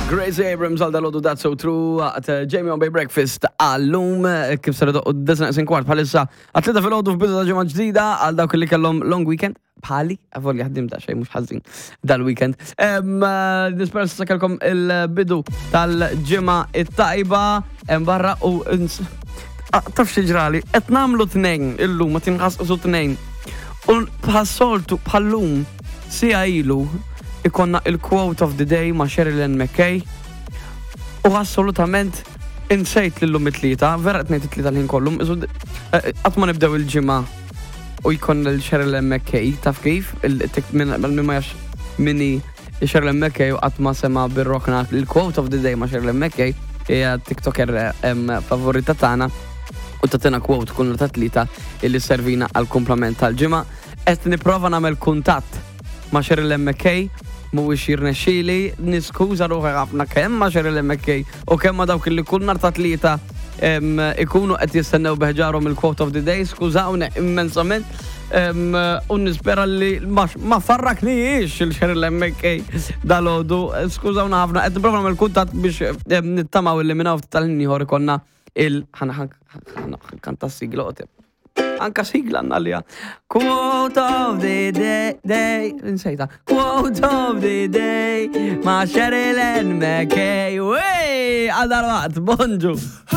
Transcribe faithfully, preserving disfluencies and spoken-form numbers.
Gracie Abrams għal dal-għodu, That's So True, għat Jamie on Bay Breakfast għallum, kif ser u disgħa neqsin kwart bħalissa għat-tlieta filgħodu f'bidu ta' ġimgħa ġdida għal dawk li kellhom long weekend bħali, għavolja ħdim ta' xejn mhux ħażin dal-weekend. Nispera sa kellkom il-bidu tal-ġimgħa it-tajba hemm barra u ins- Ah, taf xi ġrali, qed nagħmlu tnejn illum, ma tinħasqsu tnejn. U bħas-soltu bħallum siegħa ilu ikollna il-quote of the day ma' Sherilyn McKay u assolutament insejt l-lum it-tlieta, vera qed ngħid it-tlieta l-ħin kollu, isu- eh, qatt ma nibdew il-ġimgħa u jkollna l-Sherilyn McKay, taf kif? Min ma jafx min hi Sherilyn McKay u qatt ma sema bir-rokna il-quote of the day ma' Sherilyn McKay, hija TikToker em, favorita tagħna u tagħtina quote kull ta' tlieta illi servina għal kumplament tal-ġimgħa. Qed nipprova nagħmel kuntatt ma' Sherilyn McKay, mhuwiex jirnexxieli, niskuża ruħi ħafna kemm ma' Sherilyn McKay u kemm ma' dawk li kull nhar ta' tlieta em, ikunu qed jistennew beħġarhom il-quote of the day, skużawni immensament. em, U nispera li ma, ma farraknijiex il-Sherilyn McKay dal-għodu, skużawna ħafna, qed nipprova nagħmel kuntatt biex em, nittamaw illi minn hawn ftit tal-ħin ieħor ikollna il ħana ħana kanta sigla qotib. Anka sigla għandna li Quote of the day, day Insejta. Quote of the day ma' Sherilyn McKay. Wey, għal dal-waqt, bonġu.